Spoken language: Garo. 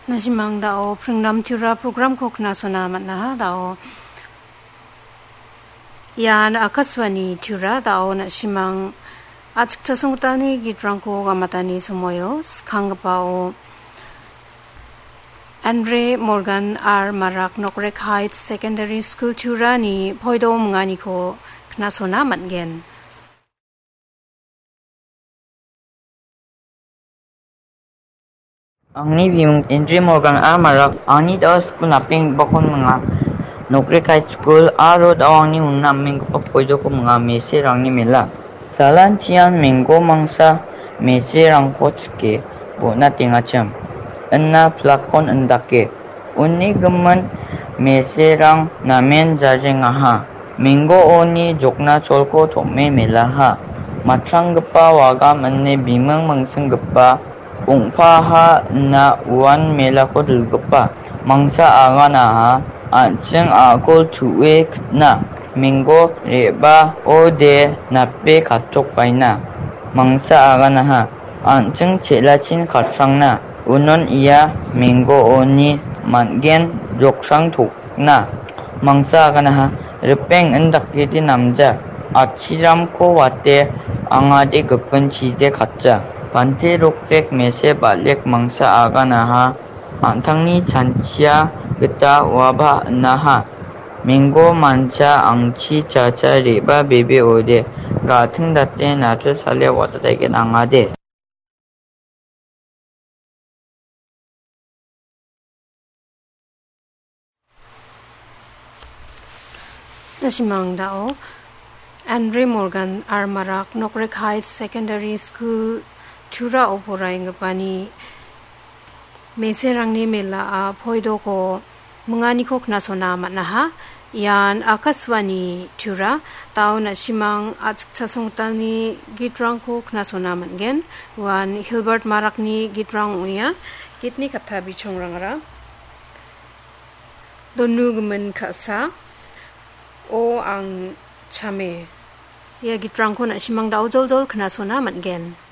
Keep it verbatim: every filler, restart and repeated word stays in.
Na·simang dao Pringdam Tura programko knasona man·aha dao. Ian Akashvani Tura dao na·simang a·chikchasonggitalni gitrangko gamatani somoio skanggipao Andre Morgan R Marak Nokrek Heights Secondary School Turani poido minganiko knasona man·gen. Angni bimung Indri Morgan R Marak, angni dao skul napenggipa kon minga. Nokrek High School aro dao angni unna amenggipa poidoko minga, meserangni mela. Salantian menggo mangsa meserangko chike bo·na teng·achim. Ina plak-kon indake. Uni gimin meserang namen jajengaha. Menggo oni jokna cholko tom·e melaha. Matranggipa wagam ine biming mingsinggipa ong·paha ina uan melako dilgipa. Mangsa aganaha an·ching a·kol tu·e kitna. Menggo re·baode nape katokbaina. Mangsa aganaha an·ching chelachin katsangna. Unon ia menggo oni man·gen joksang tokna. Mangsa aganaha ripeng indakgidi namja. Atchiramko wate angade gipin chide katja. Bante rokrek mese balek mangsa aganaha an·tangni chanchia gita uaba inaha. Menggo mancha angchi chacha re·ba bebe ode. Ga·ting date nacha sale watataigen angade. Na·simang dao Andre Morgan R Marak Nokrek Heights Secondary School Turao poraenggipani meserangni melaa poidoko minganiko knasona man·aha. Ian Akashvani Tura, dao na·simang a·chikchasonggitalni gitrangko knasona man·gen. Uan Hilbert Marakni gitrang ong·enga. Gitni katta bichongrangara. Donu gimin ka·sa, o ang chame. Ia gitrangko na·simang dao joljol knasona man·gen.